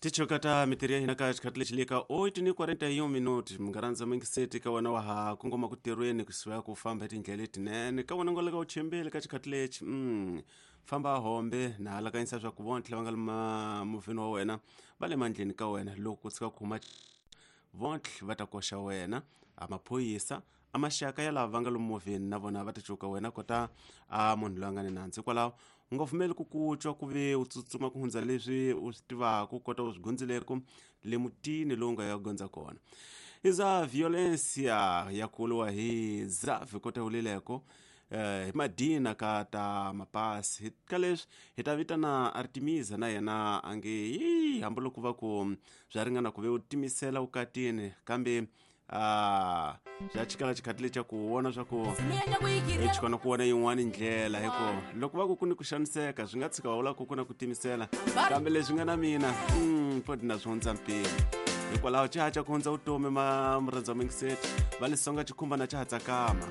Tichoka ta mitirho ya hina ka xikhathi lexi le ka 8:41 minuti. Munghana mingiseti, ka wena wa ha kongoma ku tirhweni kusuka ku famba hi tindlela letinene, ka wena nga le ka uchembeli ka xikhathi lexi, famba hombe na halakanyisa swa ku vontlhe va nga le movheni wa wena va le mandleni ka wena. Loko ku tshuka ku huma vontlhe va ta koxa wena, a maphorisa, a maxaka ya lava va nga lomu movheni na vona va ta cuka wena kota a munhu loyi a nga ni nandzu. Hikwalaho u nga pfumeli ku ku twa ku ve u tsutsuma ku hundza leswi u swi tivaka, kota u swi gondzileku le mutini lowu nga ya gondza kona. I za violencia ya kuliwa hi zavi kota ulileko hi madina ka ta mapasi. Ka leswi hi ta vitana Artemisa na yena a nge yi hambiloko va ku bya ringana ku ve u timisela vukatini, kambe a bya chikela xikhathi lexi ku vona swa ku xikona ku vona yin'wani ndlela, hi ku loko va ku ku ni ku xaniseka swi nga tshika va vula ku ku na ku timisela, kambe leswi nga na mina fodi na swi hundza mpimo. Hikwalaho xa ha xa ku hundza vutomi, ma murhandza mingiseti va lisonga xikhumbana xa ha tsakama.